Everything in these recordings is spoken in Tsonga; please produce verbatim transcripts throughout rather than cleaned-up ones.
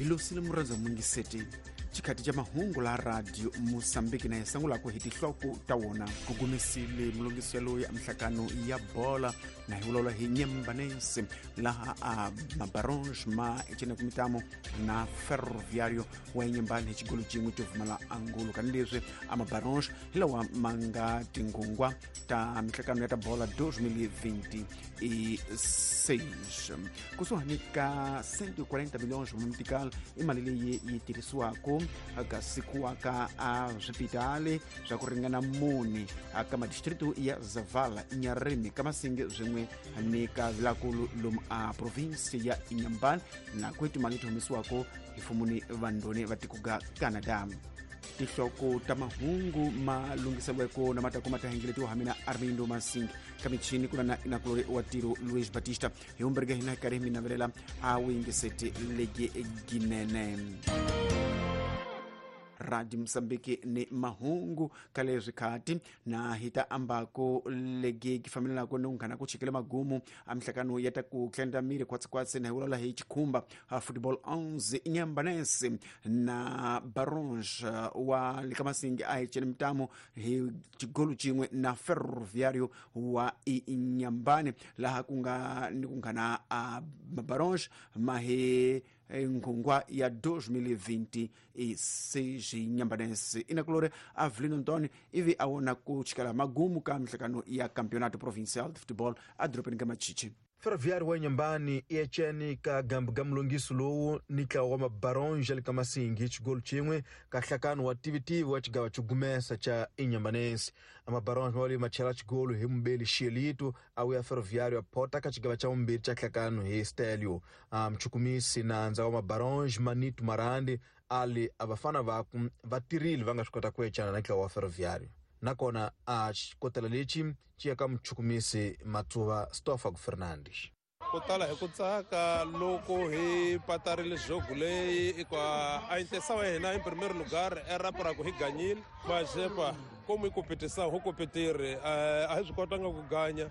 Hi losile murhandza mungiseti xikhati xa mahungu la radio Mosambiki na hi sungulaka hi tinhloko ta wona. Ku gumisile mulungisi yaloyi a mihlakano ya bola na hi vulavula hi Nyambanense laha a Mabaronge ma ecene mitamo na Ferroviario wa Nyambani hi xigolo xin'we xo pfumala angulo. Kanileswi a Mabaronge hi lawa ma nga tinghungwa ta mihlakano ya ta bola twenty twenty-six. Kusuhani ka cento e quarenta milhões metical i mali leyi yi tirhisiwaka ka siku ka a swipitali swa ku ringana mune ka madistritu ya Zavala, Inharime, Kamasinge swin'we ni ka Vilakulu lomu a province ya Inhambane na ku timali leti humesiwaka hi mfumo vandoni va tiko ga Canada. Tinhloko ta mahungu ma lunghiseriweke na matako ma ta hengeletiwa ha mina Armindo Masing ka michini ku na inakulori wa tiro Luis Batista hi humberge hina karhi mi navelela a wingiseti legi ginene. Radio Mosambiki ni mahungu ka leswi khati na hita ambako legi ki fambelelako ni unghana ku chikele magumu a mihlakano ya ta ku tlenda miri kwatsi na hi vulavula hi Chikhumba a football onze Nyambanense na Baronge wa Likamasingi a hi cene mitamu hi xigolo xin'we na Ferroviario wa Inhambane laha ku nga ni kunghana a Baronge ma hi nghungwa ya twenty twenty-six Nyambanense. Inakulore Avelino Antônio ivi a wona ku chikala magumu ka mihlakano ya Campeonato Provincial de Futebol a dorobeni ka Machichi. Ferroviário wa Inhambane i ecene ka gambu ga mulungiso lowu ni ntlawa wa Mabaronge le ka Masingi hi xigolo xin'we ka nhlakano wa tivitivi wa xigawa xo gumesa xa Inhambanense. A Mabaronge ma ma chela xigolo hi mubeli Xelito a wuya Ferroviário a phota ka xigawa xa vumbirhi xa nhlakano hi Stelio. A muchukumisi nandza wa Mabaronge Manito Marandi ali a vafana vaku va tirhile va nga swi kota ku ecana na ntlawa wa Ferroviário. Nakona a xikotela lexi xi ya ka muchukumisi Matsuva Stoffag Fernandes. Ku tala hi ku tsaka loko hi patarile jogo leyi hikuva a intenção ya hina em primeiro lugar era para ku hi ganyile mas epa como hi competição ho competir a hi swi kotanga ku ganya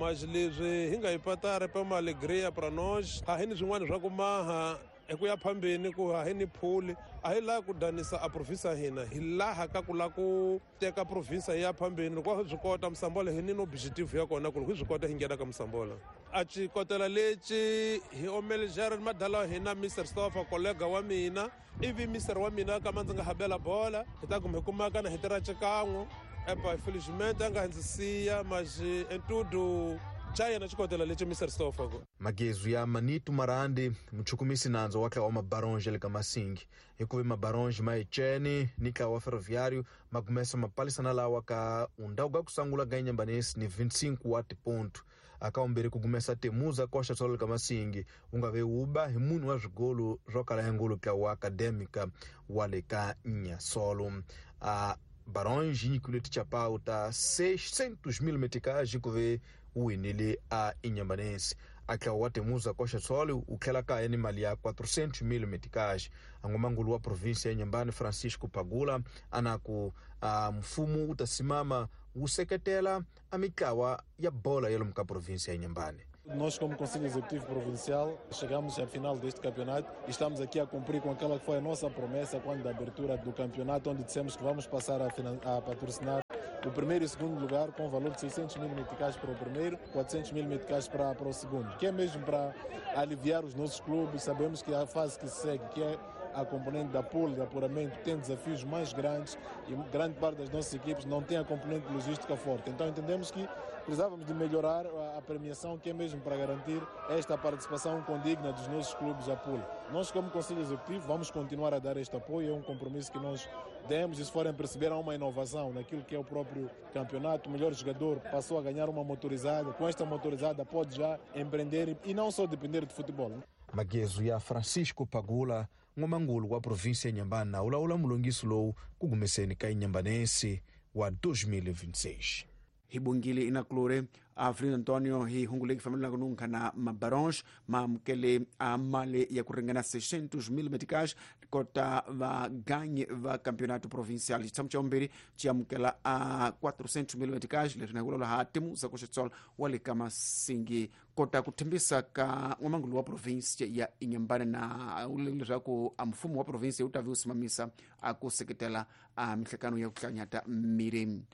mas leswi hi nga hi patara pa uma alegria para nós a hi ni swin'wana swa ku maha hi ku ya phambeni ku a hi ni phuli a hi laha ku danisa a province ya hina hi laha ka ku lava ku teka province ya phambeni loko hi swi kota Mosambola hi ni no objective ya kona ku loko hi swi kota hi nghena ka Mosambola. A xikotela lexi hi omelejare madala wa hina Mister Stoffa kollega wa mina ivi mister wa mina kama ndzi nga habela bola hi ta kuma hi kumaka na hi tirha xikan'we epa infelizmente a nga ndzi siya mas em tudo chayena xikotela lexi Mister Stoffa. Magezu ya Manito Marandi muchukumisi nandza wa ntlawa wa Mabaronge le ka Masingi hikuva Mabaronge ma ecene ni ntlawa wa Ferroviário ma gumesa mapalisana lawa ka undhawu ga ku sungula ga Inhambanense ni vinte e cinco wa tiponto aka vumbirhi ku gumesa Temuza koxa tsolo le ka Masingi wu nga ve wuba hi munhu wa swigolo swo kala ya ngolo ntlawa wa Acadêmica wa le ka Nyasolo. A Baronge yi nyikiwile tichapau ta seiscentos mil meticais hikuva wu winile a Inhambanense. A ntlawa wa Temuza koxa tsolo wu tlhela kaya ni mali ya quatrocentos mil meticais. A ngomangulu wa province ya Inhambane Francisco Pagula a na ku a mfumo wu ta simama wu seketela a mitlawa ya bola ya lomu ka province ya Inhambane. Nós, como Conselho Executivo Provincial, chegamos à final deste campeonato e estamos aqui a cumprir com aquela que foi a nossa promessa quando da abertura do campeonato, onde dissemos que vamos passar a, a patrocinar o primeiro e segundo lugar com o valor de seiscentos mil meticais para o primeiro, quatrocentos mil meticais para, para o segundo, que é mesmo para aliviar os nossos clubes. Sabemos que a fase que se segue, que é a componente da pool, de apuramento, tem desafios mais grandes e grande parte das nossas equipes não tem a componente logística forte. Então entendemos que precisávamos de melhorar a premiação, que é mesmo para garantir esta participação condigna dos nossos clubes à pool. Nós, como Conselho Executivo, vamos continuar a dar este apoio, é um compromisso que nós demos e se forem perceber, há uma inovação naquilo que é o próprio campeonato. O melhor jogador passou a ganhar uma motorizada, com esta motorizada pode já empreender e não só depender de futebol. Magezu ya Francisco Pagula ngomangulu wa província ya Inhambane na ulawula mulungiso lowu ku gumeseni ka Inhambanense wa twenty twenty-six. Hi bongile inakulore Avelino Antonio hi hungu leyi fambelaka nunka na mabarons ma amukele a mali ya ku ringana seiscentos mil meticais kota vaganyi va campeonato provincial. Xitshamo xa vumbirhi xi amukela a quatrocentos mil meticais, leswi na hi vulavula ha Timuza Kuxitsol wa le ka Masingi kota ku thembisa ka n'wamangulu wa province ya Inhambane na leswaku a mfumo wa province wu ta vi wu simamisa a ku seketela a mihlekano ya ku hlanyata miri.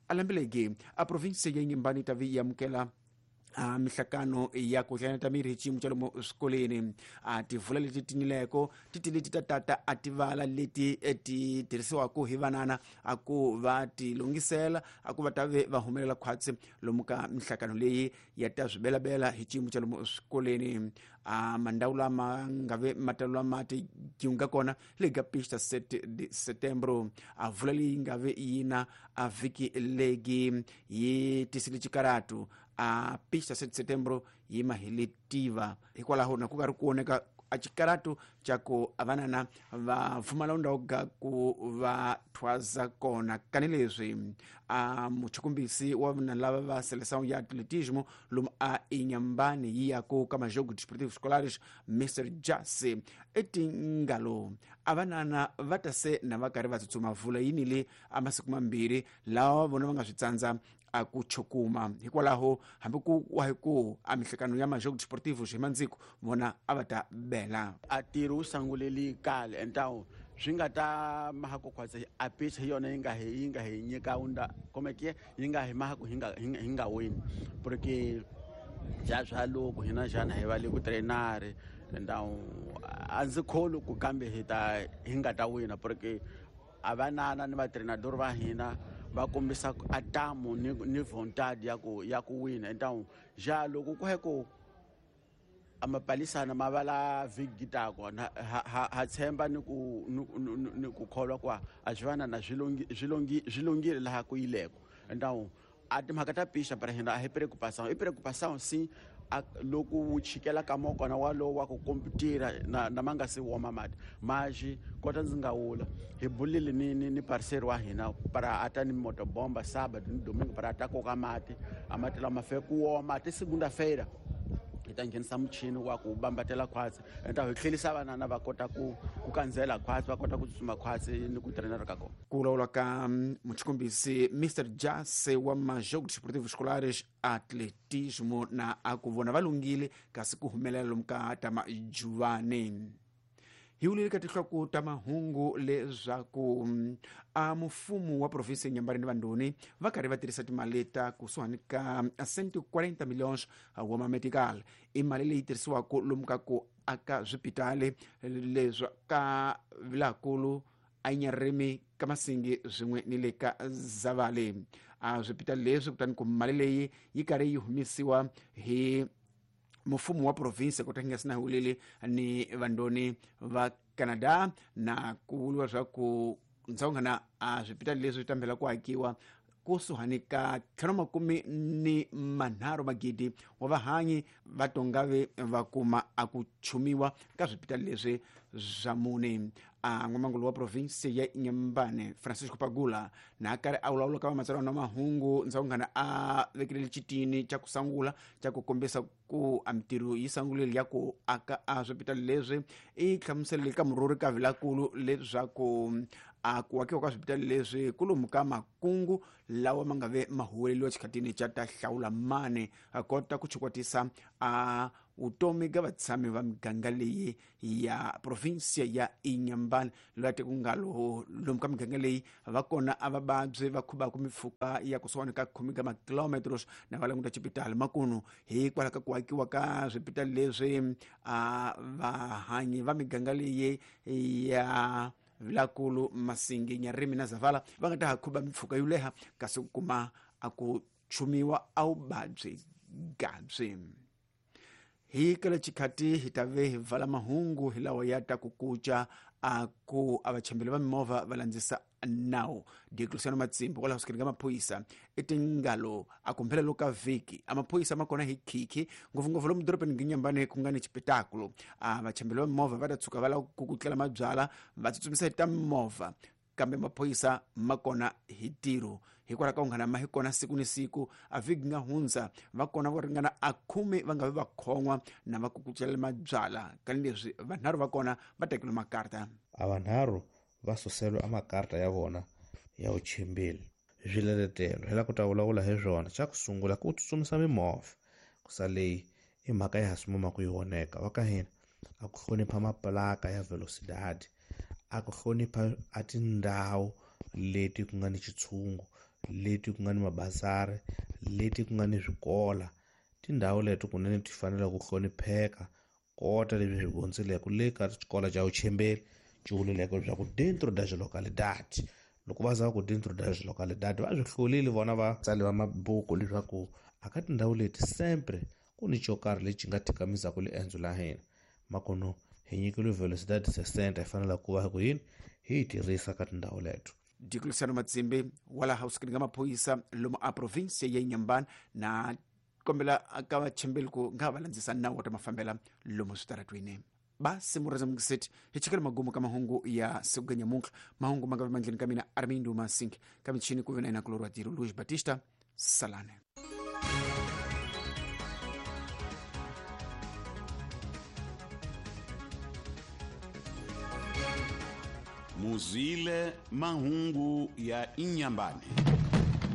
Alambelege a province ya Inhambane yi ta vi yi amukela a mihlakano ya ku hlanyata miri hi xiyimo xa lomu swikolweni. A tivula leti tinileko ti ti leti ta tata a tivala leti ti tirhisiwaka hi vanana a ku va ti lunghisela a ku va ta ve va humelela khwatsi lomu ka mihlakano leyi ya ta swibelabela hi xiyimo xa lomu swikolweni. A mandhawu lama nga ve matalo mati nga kona le ka pista sete de setembro. A vula leyi nga ve yina a vhiki legi yi tisile xikaratu a pista sete setembro yi maheletiva hikwalaho na ku nga ri ku oneka a xikaratu xa ku avanana va pfumala ndhawu ga ku va thwaza kona. Kanileswi a muchukumbisi wa vana lava va seleção ya atletismo lomu a Inhambane yi ya ku ka majogo desportivos escolares Mister Jase etingalo avanana va ta se na va karhi va tsutsuma vula yini le a masiku mambirhi lawa vona va nga swi tsandza a ku chukuma. Hikwalaho hambi ku wa hi ku a mihlekano ya majogo desportivos hi mandziko vona a va ta bela a tirho wu sanguleli kale então swi nga ta maha ku khwatsa a pitch hi yona yi nga hi yi nga hi nyika unda como que yi nga hi maha ku hi nga hi nga wini porque ja swa loko hina xana hi va le ku trainare então a ndzi kholi ku kambe hi ta hi nga ta wina porque a vanana ni vatreinador va hina va kombisa atamu ni ni vontade ya ku ya ku wina. Então ja loko ku heko amapalisana mavala vigitako ha ha tshemba ni ku ni ku kholwa kwa a swi vana na swilongi swilongi swilongile laha ku yileko. Então a timhaka ta pisha para hina a hi preocupação i preocupação sim loko wu chikela ka mokona walowo wa ku komputira na na ma nga se woma mati maxi kota ndzi nga wula hi bulile ni ni ni parceiro wa hina para ata ni motobomba sábado ni domingo para ata koka mati a mati lama fe ku woma ti segunda-feira hi ta nghenisa muchini wa ku bambatela khwatsi enta hi tlhelisa vanana va kota ku ku kandzela khwatsi va kota ku tsutsuma khwatsi ni ku trainera ka kona. Ku vulavula ka muchukumbisi Mister Jase wa majogo desportivos escolares atletismo na a ku vona va lunghile kasi ku humelela lomu ka ta majuvane. Hi wulile ka tinhloko ta mahungu leswaku a mfumo wa province ya Inhambane ni Vandoni va karhi va tirhisa timali ta kusuhani ka cento e quarenta milhões wa mametical. I mali leyi tirhisiwaka lomu ka ku aka swipitali leswi ka Vilakulu, Anyarimi, ka Masingi swin'we ni le ka Zavale. A swipitali leswi kutani ku mali leyi yi karhi yi humesiwa hi mfumo wa province kota nga sina hulele ni Vandoni va Canada na ku vuliwa swa ku ndzawungana a swipitali leswi tambela ku akiwa kusuhani ka ntlhanu makume ni manharhu magidi wa vahanyi va tongave va kuma a ku chumiwa ka swipitali leswi swa mune. A n'wamangulu wa province ya Inhambane Francisco Pagula na karhi a vulavula ka vamatsalwa na mahungu ndzawungana a vekele xitini xa ku sangula xa ku kombisa ku a mitirho yi sangulile ya ku aka a swipitali leswi i hlamuselele ka murhuri ka Vilakulu leswaku a ku akiwa ka swipitali leswi ku lomu ka makungu lawa ma nga ve ma huweleliwa xikhatini xa ta hlawula mane a kota ku chukwatisa a vutomi ka vatshami va miganga leyi ya provinsia ya Inhambane loyi a ku nga lo lomu ka miganga leyi va kona a vavabyi va khubaka mimpfhuka ya kusuhani ka khume ka makilometros na va languta xipitali makunu hikwalaho ka ku akiwa ka swipitali leswi a vahanyi va miganga leyi ya Vilakulu, Masingi, Nyarimi na Zavala va nga ta ha khuba mimpfhuka yo leha kasi ku kuma a ku chumiwa a vuvabyi gabyi. Hi kala xikhati hi ta ve hi vala mahungu hi lawa ya ta ku kuca a ku a vachembeli va mimovha va landzisa nawu. Diocleciano Matsimbi kwalaho sukeni ka maphorisa i tingalo a kumphelelo ka vhiki a maphorisa ma kona hi khikhi ngopfungopfu lomu dorobeni Nginyambane ku nga ni xipetakulo. A vachembeli va mimovha va ta tshuka va lava ku kutlela mabyala va tsutsumisa hi ta mimovha kambe maphorisa ma kona hi ntirho. Hikwalaho ka ku nghana ma hi kona siku ni siku a vhiki nga hundza va kona vo ringana a khume va nga vi va khon'wa na va kukucela mabyala kanileswi vanharhu va kona va tekile makarta. A vanharhu va suselwe a makarta ya vona ya vuchimbili. Swiletelo hi la ku ta vulavula hi swona. Xa ku sungula ku tsutsumisa mimovha ku sa leyi i mhaka ya ha sumuma ku yi voneka wa ka hina a ku hlonipha maplaka ya velocidade, a ku hlonipha a tindhawu leti ku nga ni xitshungu, leti ku nga ni mabazari, leti ku nga ni swikola. Tindhawu leti kunene ti fanele ku hlonipheka kota leswi swi gondzeleke le ka xikolo xa vuchembeli xi vuleleke leswaku dentro das localidades. Loko va za ku dentro das localidades va swi hlolile vona vatsali va mabuku leswaku aka tindhawu leti sempre ku ni xo karhi lexi nga thikamisaka liendzo la hina. Makono hi nyikile velocidade sessenta hi fanele ku va ku yini hi yi tirhisa ka tindhawu leto. Diklusiano Matsimbi wala hausikini ka maphorisa lomu a province ya Inhambane na kombela ka vachembeli ku nga va landzisa nawu wa ta mafambela lomu switaratwini. Basi mureza mukiseti hi chikela magumu ka mahungu ya siku ga nyamuntlha. Mahungu ma nga vi mandleni ka mina Armindo Masink ka michini ku ve na yena kulorwa tiro Luis Batista Salane. Muzile mahungu ya Inhambane.